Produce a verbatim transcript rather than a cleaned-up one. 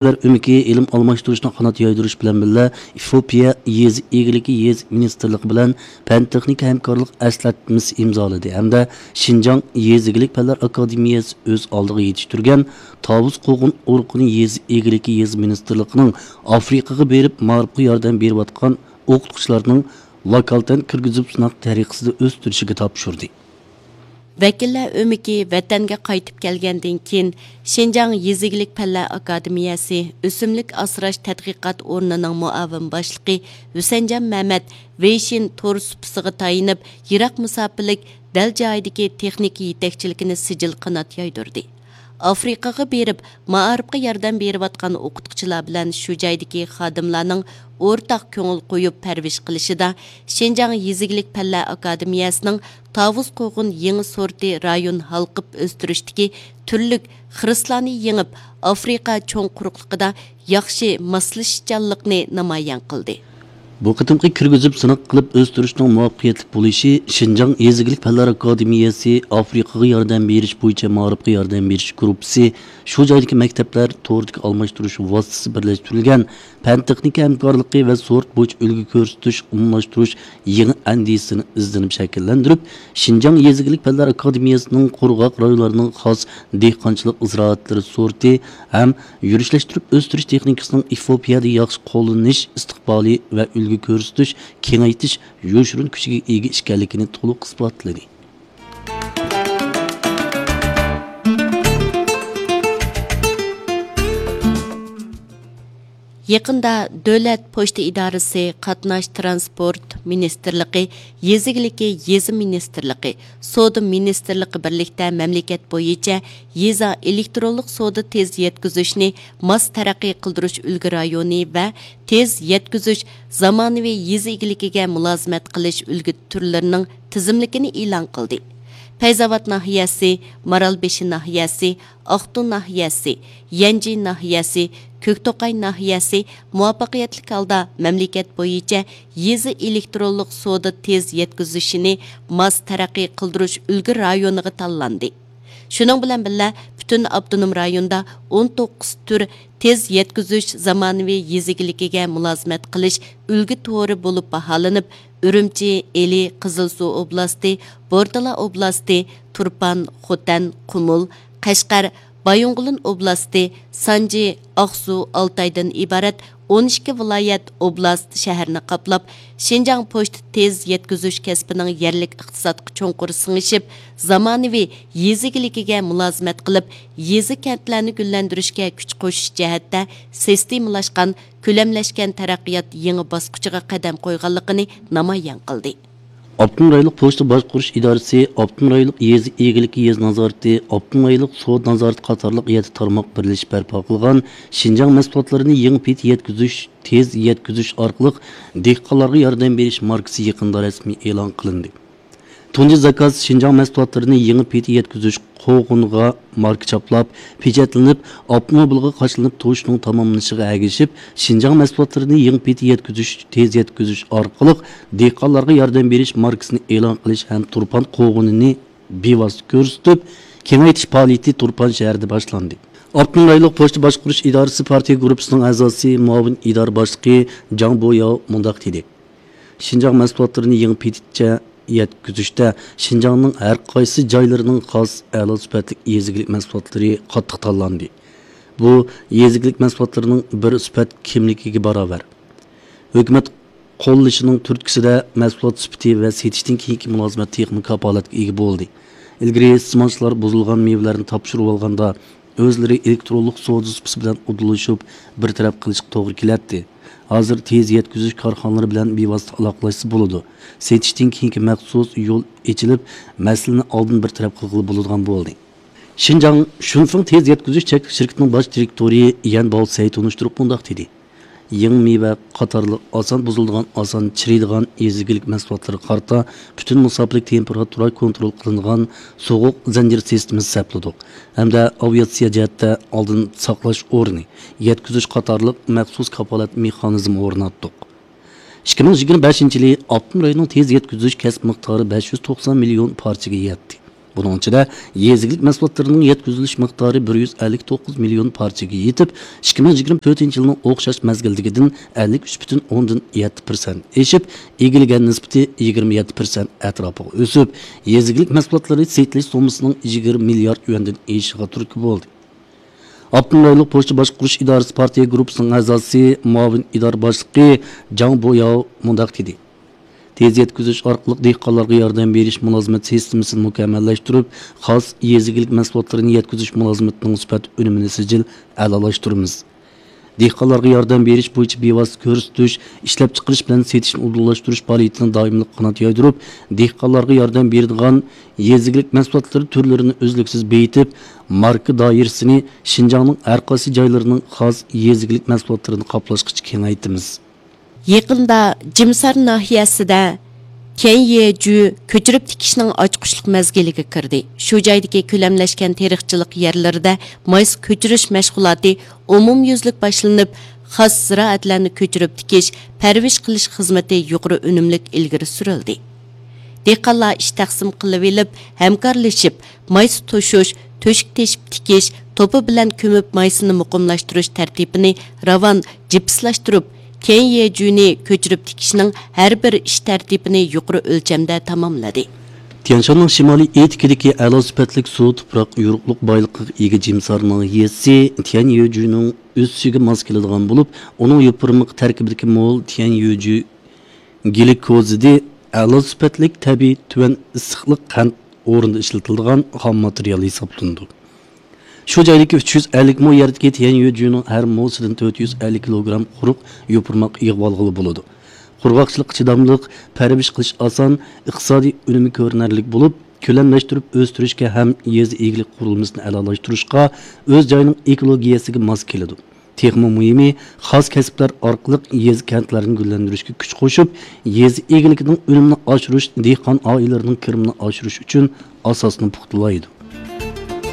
ئۆمىكى ئىلىم ئالماشتۇرۇشنى قانات يايدۇرۇش بىلەن بىللە، ئېفىئوپىيە يېزا ئىگىلىكى يېزا مىنىستىرلىقى بىلەن پەن تېخنىكا ھەمكارلىق ئەسلەتمىسى ئىمزالىدى ھەمدە شىنجاڭ يېزا ئىگىلىك پەنلەر ئاكادېمىيەسى ئۆز ئالدىغا يېتىشتۈرگەن تاۋۇز قوغۇن ئۇرۇقىنى يېزا ئىگىلىكى يېزا مىنىستىرلىقىنىڭ ئافرىقىغا بېرىپ مائارىپقا ياردەم بېرىۋاتقان ئوقۇتقۇچىلارنىڭ ۋاكالىتەن كىرگۈزۈپ سىناق تەرىقىسىدە ئۆستۈرۈشىگە تاپشۇردى. ۋەكىللەر ئۆمىكى ۋەتەنگە قايتىپ كەلگەندىن كېيىن، شىنجاڭ يېزا ئىگىلىك پەنلەر ئاكادېمىيەسى ئۆسۈملۈك ئاسراش تەتقىقات ئورنىنىڭ مۇئاۋىن باشلىقى ھۈسەنجان مەمەت ۋېيشىن تور سۇپىسىغا تايىنىپ، يىراق مۇساپىلىك دەل جايىدىكى تېخنىكا يېتەكچىلىكىنى سىجىل قانات يايدۇردى. ئافرىقىغا بېرىپ، مائارىپقا ياردەم بېرىۋاتقان ئوقۇتقۇچىلار بىلەن شۇ جايدىكى خادىملارنىڭ ئورتاق كۆڭۈل قويۇپ پەرۋىش قىلىشىدا، شىنجاڭ يېزا ئىگىلىك پەنلەر ئاكادېمىيەسىنىڭ تاۋۇز قوغۇن يېڭى سورتى رايون ھالقىپ ئۆستۈرۈشتىكى تۈرلۈك خىرىسلارنى يېڭىپ، ئافرىقا چوڭ قۇرۇقلۇقىدا ياخشى ماسلىشىشچانلىقنى نامايان قىلدى. بۇ قېتىمقى كىرگۈزۈپ سىناق قىلىپ ئۆستۈرۈشنىڭ مۇۋەپپەقىيەتلىك بولۇشى شىنجاڭ يېزا ئىگىلىك پەنلەر ئاكادېمىيەسى ئافرىقىغا ياردەم بېرىش بويىچە مائارىپقا ياردەم بېرىش گۇرۇپپىسى، شۇ جايدىكى مەكتەپلەر تورىدىكى ئالماشتۇرۇش ۋاسىتىسى بىرلەشتۈرۈلگەن پەن تېخنىكا ھەمكارلىقى ۋە سورت بويىچە ئۈلگە كۆرسىتىش، ئومۇملاشتۇرۇش يېڭى ئەندىزىسىنى ئىزدىنىپ شەكىللەندۈرۈپ، شىنجاڭ يېزا ئىگىلىك پەنلەر ئاكادېمىيەسىنىڭ قۇرغاق رايونلارنىڭ خاس دېھقانچىلىق زىرائەتلىرى سورتى ھەم يۈرۈشلەشتۈرۈپ ئۆستۈرۈش تېخنىكىسىنىڭ ئېفىئوپىيەدە ياخشى قوللىنىش ئىستىقبالى ۋە ئۈلگە كۆرسىتىش، كېڭەيتىش يوشۇرۇن كۈچىگە ئىگە ئىكەنلىكىنى تولۇق ئىسپاتلىدى. يېقىندا دۆلەت پوچتا ئىدارىسى، قاتناش تىرانسپورت مىنىستىرلىقى، يېزا ئىگىلىكى يېزا مىنىستىرلىقى، سودا مىنىستىرلىقى بىرلىكتە مەملىكەت بويىچە يېزا ئېلېكترونلۇق سودا تېز يەتكۈزۈشنى ماس تەرەققىي قىلدۇرۇش ئۈلگە رايونى ۋە تېز يەتكۈزۈش زامانىۋى يېزا ئىگىلىكىگە مۇلازىمەت قىلىش ئۈلگە تۈرلىرىنىڭ تىزىملىكىنى ئېلان قىلدى. پەيزاۋات ناھىيەسى، مارالبېشى ناھىيەسى، ئاقتۇ ناھىيەسى، يەنجى ناھىيەسى، كۆكتوقاي ناھىيەسى مۇۋەپپەقىيەتلىك ھالدا مەملىكەت بويىچە يېزا ئېلېكترونلۇق سودا تېز يەتكۈزۈشىنى ماس تەرەققىي قىلدۇرۇش ئۈلگە رايونىغا تاللاندى. شۇنىڭ بىلەن بىللە، پۈتۈن ئاپتونوم رايوندا ئون توققۇز تۈر تېز يەتكۈزۈش زامانىۋى يېزا ئىگىلىكىگە مۇلازىمەت قىلىش ئۈلگە تورى بولۇپ باھالىنىپ، ئۈرۈمچى، ئىلى، قىزىلسۇ ئوبلاستى، بورتالا ئوبلاستى، تۇرپان، خوتەن، قۇمۇل، قەشقەر، بايىنغولىن ئوبلاستى، سانجى، ئاقسۇ، ئالتايدىن ئىبارەت ئون ئىككى ۋىلايەت، ئوبلاست، شەھەرنى قاپلاپ، شىنجاڭ پوچتا تېز يەتكۈزۈش كەسپىنىڭ يەرلىك ئىقتىسادقا چوڭقۇر سىڭىشىپ، زامانىۋى يېزا ئىگىلىكىگە مۇلازىمەت قىلىپ، يېزا، كەنتلەرنى گۈللەندۈرۈشكە كۈچ قوشۇش جەھەتتە سىستېمىلاشقان، كۆلەملەشكەن تەرەققىيات يېڭى باسقۇچىغا قەدەم قويغانلىقىنى نامايان قىلدى. ئاپتونوم رايونلۇق پوچتا باشقۇرۇش ئىدارىسى ئاپتونوم رايونلۇق يېزا ئىگىلىكى يېزا نازارىتى، ئاپتونوم رايونلۇق سودا نازارىتى قاتارلىق يەتتە تارماق بىرلىشىپ بەرپا قىلغان شىنجاڭ مەھسۇلاتلىرىنى يېڭى پېتى يەتكۈزۈش، تېز يەتكۈزۈش ئارقىلىق دېھقانلارغا ياردەم بېرىش ماركىسى يېقىندا رەسمىي ئېلان قىلىندى. تۇنجى زاكاز شىنجاڭ مەھسۇلاتلىرىنى يېڭى پېتى يەتكۈزۈش قوغۇنىغا ماركا چاپلاپ، پېچەتلىنىپ، ئاپتوموبىلغا قاچىلىنىپ توشۇشنىڭ تاماملىنىشىغا ئەگىشىپ، شىنجاڭ مەھسۇلاتلىرىنى يېڭى پېتى يەتكۈزۈش، تېز يەتكۈزۈش ئارقىلىق دېھقانلارغا ياردەم بېرىش ماركىسىنى ئېلان قىلىش ھەم تۇرپان قوغۇنىنى بىۋاسىتە كۆرسىتىپ، كېڭەيتىش پائالىيىتى تۇرپان شەھىرىدە باشلاندى. ئاپتونوم رايونلۇق پوچتا باشقۇرۇش ئىدارىسى پارتىيە گۇرۇپپىسىنىڭ ئەزاسى، مۇئاۋىن ئىدارە باشلىقى جاڭ بوياۋ مۇنداق دېدى. شىنجاڭ مەھسۇلاتلىرىنى يېڭى پېتىچە يەتكۈزۈشتە شىنجاڭنىڭ ھەر قايسى جايلىرىنىڭ خاس ئەلا سۈپەتلىك يېزا ئىگىلىك مەھسۇلاتلىرى قاتتىق تاللاندى. بۇ يېزا ئىگىلىك مەھسۇلاتلىرىنىڭ بىر سۈپەت كىملىكىگە باراۋەر. ھۆكۈمەت قوللىشىنىڭ تۈرتكىسىدە مەھسۇلات سۈپىتى ۋە سېتىشتىن كېيىنكى مۇلازىمەت تېخىمۇ كاپالەتكە ئىگە بولدى. ئىلگىرى ئىستېمالچىلار بۇزۇلغان مېۋىلەرنى تاپشۇرۇۋالغاندا، ئۆزلىرى ئېلېكترونلۇق سودا سۇپىسى بىلەن ئۇدۇللىشىپ، بىر تەرەپ قىلىشقا توغرا كېلەتتى. ھازىر تېز يەتكۈزۈش كارخانىلىرى بىلەن بىۋاسىتە ئالاقىلەشسە بولىدۇ. سېتىشتىن كېيىنكى مەخسۇس يول ئېچىلىپ، مەسىلىنى ئالدىن بىر تەرەپ قىلغىلى بولىدىغان بولدى. شىنجاڭ شۇنفېڭ تېز يەتكۈزۈش چەكلىك شىركىتىنىڭ باش دىرېكتورى يەن باۋسەي تونۇشتۇرۇپ مۇنداق دېدى. يېڭى مېۋە قاتارلىق ئاسان بۇزۇلىدىغان، ئاسان چىرىيدىغان يېزا ئىگىلىك مەھسۇلاتلىرىغا قارىتا پۈتۈن مۇساپىلىك تېمپېراتۇرا كونترول قىلىنغان سوغۇق زەنجىر سىستېمىسى سەپلىدۇق ھەمدە ئاۋىئاتسىيە جەھەتتە ئالدىن ساقلاش ئورنى، يەتكۈزۈش قاتارلىق مەخسۇس كاپالەت مېخانىزمى ئورناتتۇق. ئىككى مىڭ يىگىرمە بەشىنچى يىلى ئاپتونوم رايوننىڭ تېز يەتكۈزۈش كەسىپ مىقدارى بەش يۈز توقسان مىليون پارچىگە يەتتى. بۇنىڭ ئىچىدە يېزا ئىگىلىك مەھسۇلاتلىرىنىڭ يەتكۈزۈلۈش مىقدارى بىر يۈز ئەللىك توققۇز مىليون پارچىگە يېتىپ، ئىككى مىڭ يىگىرمە تۆتىنچى يىلنىڭ ئوخشاش مەزگىلدىكىدىن ئەللىك ئۈچ پۈتۈن ئوندىن يەتتە پىرسەنت ئېشىپ، ئىگىلىگەن نىسبىتى يىگىرمە يەتتە پىرسەنت ئەتراپىغا ئۆسۈپ، يېزا ئىگىلىك مەھسۇلاتلىرى سېتىلىش سوممىسىنىڭ يىگىرمە مىليارد يۈەندىن ئېشىشىغا تۈرتكە بولدى. ئاپتونوم رايونلۇق پوچتا باشقۇرۇش ئىدارىسى پارتىيە گۇرۇپپىسىنىڭ ئەزاسى، مۇئاۋىن ئىدارە باشلىقى جاڭ بوياۋ مۇنداق دېدى: تېز يەتكۈزۈش ئارقىلىق دېھقانلارغا ياردەم بېرىش مۇلازىمەت سىستېمىسىنى مۇكەممەللەشتۈرۈپ، خاس يېزا ئىگىلىك مەھسۇلاتلىرىنى يەتكۈزۈش مۇلازىمىتىنىڭ سۈپەت ئۈنۈمىنى سىجىل ئەلالاشتۇرىمىز. دېھقانلارغا ياردەم بېرىش بويىچە بىۋاسىتە كۆرسىتىش، ئىشلەپچىقىرىش بىلەن سېتىشنى ئۇدۇللاشتۇرۇش پائالىيىتىنى دائىملىق قانات يايدۇرۇپ، دېھقانلارغا ياردەم بېرىدىغان يېزا ئىگىلىك مەھسۇلاتلىرى تۈرلىرىنى ئۈزلۈكسىز بېيىتىپ، ماركا دائىرىسىنى شىنجاڭنىڭ ھەر قايسى جايلىرىنىڭ خاس يېزا ئىگىلىك مەھسۇلاتلىرىنى قاپلاشقىچە كېڭەيتىمىز. يېقىندا جىمسار ناھىيەسىدە تيەنيېجۈ كۆچۈرۈپ تىكىشنىڭ ئاچقۇچلۇق مەزگىلىگە كىردى. شۇ جايدىكى كۆلەملەشكەن تېرىقچىلىق يەرلىرىدە مايسا كۆچۈرۈش مەشغۇلاتى ئومۇميۈزلۈك باشلىنىپ، خاس زىرائەتلەرنى كۆچۈرۈپ تىكىش، پەرۋىش قىلىش خىزمىتى يۇقىرى ئۈنۈملۈك ئىلگىرى سۈرۈلدى. دېھقانلار ئىش تەقسىم قىلىۋېلىپ، ھەمكارلىشىپ، مايسا توشۇش، تۆشۈك تېشىپ تىكىش، توپا بىلەن كۆمۈپ مايسىنى مۇقىملاشتۇرۇش تەرتىپىنى راۋان جىپسلاشتۇرۇپ، تيەنيېجۈنى كۆچۈرۈپ تىكىشنىڭ ھەر بىر ئىش تەرتىپىنى يۇقىرى ئۆلچەمدە تاماملىدى. تيەنشاننىڭ شىمالىي ئېتىكىدىكى ئەلا سۈپەتلىك سۇ، تۇپراق، يورۇقلۇق بايلىقىغا ئىگە جىمسار ناھىيەسى تيەنيېجۈنىڭ ئۆسۈشىگە ماس كېلىدىغان بولۇپ، ئۇنىڭ يوپۇرمىقى تەركىبىدىكى مول تيەنيېجۈ گلىكوزىدى ئەلا سۈپەتلىك تەبىئىي تۆۋەن ئىسسىقلىق قەنت ئورنىدا ئىشلىتىلىدىغان خام ماتېرىيال ھېسابلىنىدۇ. شۇ جايدىكى ئۈچ يۈز ئەللىك مو يەردىكى تيەنيۆجۈنىڭ ھەر موسىدىن تۆت يۈز ئەللىك كىلوگرام قۇرۇق يوپۇرماق يىغىۋالغىلى بولىدۇ. قۇرغاقچىلىققا چىداملىق، پەرۋىش قىلىش ئاسان، ئىقتىسادىي ئۈنۈمى كۆرۈنەرلىك بولۇپ، كۆلەملەشتۈرۈپ ئۆستۈرۈشكە ھەم يېزا ئىگىلىك قۇرۇلمىسىنى ئەلالاشتۇرۇشقا، ئۆز جايىنىڭ ئېكولوگىيەسىگە ماس كېلىدۇ. تېخىمۇ مۇھىمى، خاس كەسىپلەر ئارقىلىق يېزا، كەنتلەرنى گۈللەندۈرۈشكە كۈچ قوشۇپ، يېزا ئىگىلىكىنىڭ ئۈنۈمىنى ئاشۇرۇش، دېھقان ئائىلىلىرىنىڭ كىرىمىنى ئاشۇرۇش ئۈچۈن ئاساسنى پۇختىلايدۇ.